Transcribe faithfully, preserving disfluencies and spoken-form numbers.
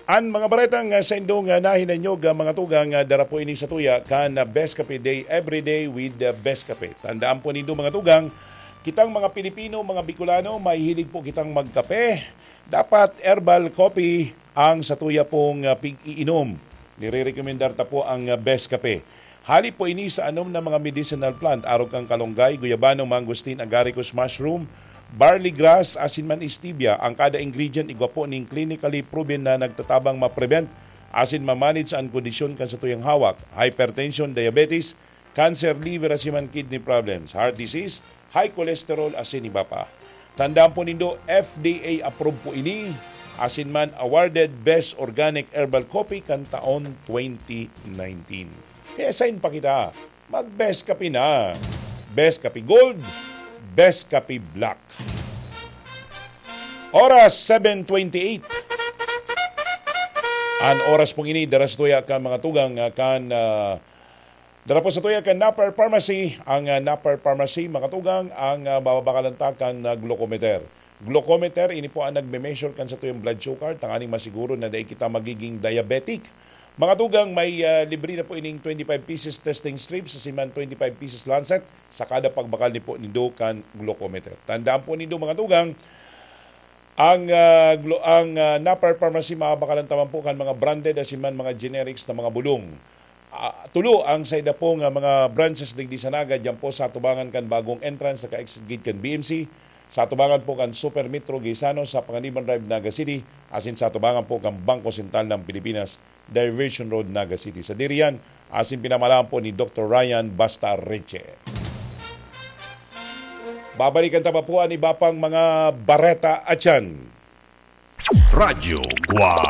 An mga baretang, ah, sa indong, ah, nahinanyog, ah, mga tugang, ah, dara po ini sa tuya kan, ah, Best Kape Day, every day with, ah, Best Kape. Tandaan po nindo, mga tugang, kitang mga Pilipino, mga Bicolano, mahihilig po kitang magkape. Dapat herbal coffee ang sa tuya pong, ah, pig-iinom. Nire-recommendar ta po ang, ah, Best Kape. Hali po ini sa anom na mga medicinal plant, arog kan kalonggay, guyabano, mangosteen, agaricus mushroom, barley grass, asin man stevia. Ang kada ingredient igwa po ning clinically proven na nagtatabang ma-prevent asin ma-manage an kondisyon kan satuyang hawak, hypertension, diabetes, cancer, liver, asin man kidney problems, heart disease, high cholesterol, asin iba pa. Tandaan po nindo, F D A approved po ini, asin man awarded Best Organic Herbal Coffee kan taon twenty nineteen. Kaya sain pa kita? Mag-Best Kape na. Best Kape Gold, Best Kape Black. Oras, seven twenty-eight. An oras pong ini, dara sa tuya kan mga tugang, ah, kan, ah, dara po sa tuya kan Napper Pharmacy. Ang, ah, Napper Pharmacy, mga tugang, ang, ah, mababakalan ta kan, ah, glucometer. Glucometer, ini po ang nagme-measure kan satuyang blood sugar, tanganing masiguro na dai kita magiging diabetic. Mga tugang, may, ah, libre na po ining twenty-five pieces testing strips, asin man twenty-five pieces lancet sa kada pagbakal ni po nindo kan glucometer. Tandaan po nindo, mga tugang, ang, ah, glo-, ang, ah, Napper Pharmacy, mababakalan ta man po kan mga branded asin man mga generics na mga bulong. Ah, tulo ang saida po nga mga branches digdi sa Naga, diyan po sa atubangan kan bagong entrance sa ka-exit gate kan B M C, sa atubangan po kan Super Metro Gaisano sa Panganiban Drive, Naga City, asin sa atubangan po kan Bangko Sentral ng Pilipinas, Diversion Road, Naga City. Sadiri yan, asin pinamalaan po ni Doktor Ryan Basta Reche. Babalikan ta pa po an iba pang mga bareta atyan. Radyo Guwang.